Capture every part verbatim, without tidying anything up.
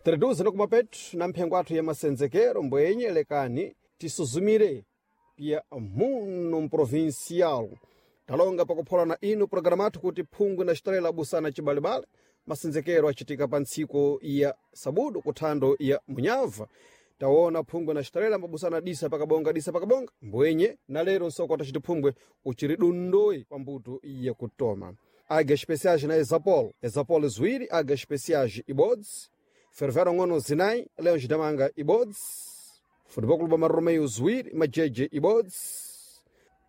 Tereduze nokumapetu na mphengo athu ya masenzekero mbwenye lekani tisuzumire pia muno mprovincial. Talonga pakupholana inu programa athu kuti phungwe na xitarela busana cibalibale. Masenzekero acitika pa ntsiku ya sabudu kuthando ya munyava. Taona phungwe na xitarela mabusana disa pakabonga disa pakabonga mbwenye na lero nsoko ataciti phungwe uciri dundoyi pa mbuto ya kutoma. Águia especiais na Exapol, Exapol ziwiri, águia especiais ibodzi, Fervero ng'ono zinayi, Leões da Manga ibodzi, Futebol Clube Marromeio ziwiri, Majeje ibodzi,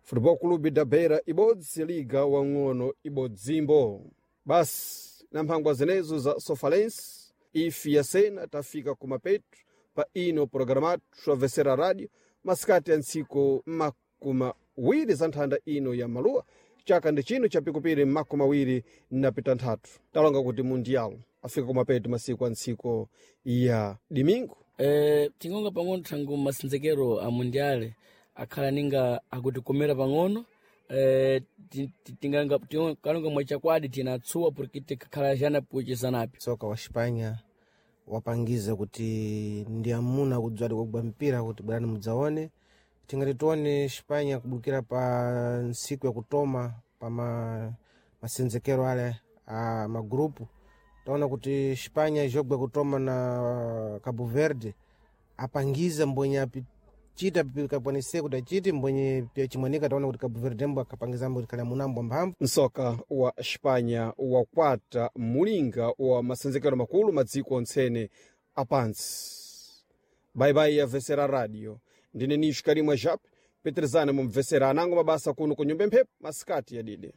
Futebol Clube da Beira ibodzi, Liga wang'ono ibodzimbo. Basi na mphangwa zenezo za Sofalense ifi ya sena tafika kumapetu pa ino programatu twavesera radio masikati ya ntsiku makumi awiri za nthanda ino ya maluwa chaka ndi chino chapikupiri makumi awiri na pitanthatu. Talonga kuti mundial afika kumapetu masiku a ntsiku ya dimingu. Eh, tingonga pang'ono thangu masenzekero a mundiale akhala ninga akutikomera pang'ono. Eh, ti- ti- tinganga tingalonga mwachakwadi tinatsuwa porque tikakhala xana puchisanapi. Soka wa Xipanya wapangiza kuti ndi amuna kudzwadi kugwa mpira kuti bwerani mudzaone. Tingati tione Xipanya kubukira pa ntsiku yakutoma pa ma, masenzekero ale a magrupu, taona kuti Xipanya jogwa kutoma na Cabo Verde apangiza mbwenye apichita pikapwanise kuti achiti mbwenye pia chimwanika. Taona kuti Cabo Verde mbo akapangiza mbo kuti kali amunambo mphamvu. Msoka wa Xipanya wakwata mulinga wa masenzekero makulu madziko ontsene apansi. Baibai ya Vesera Radio, ndine Nisho Karimwa Jap petrezana mumvesera anango mabasa kuno ku nyumba mphepo masikati yadide.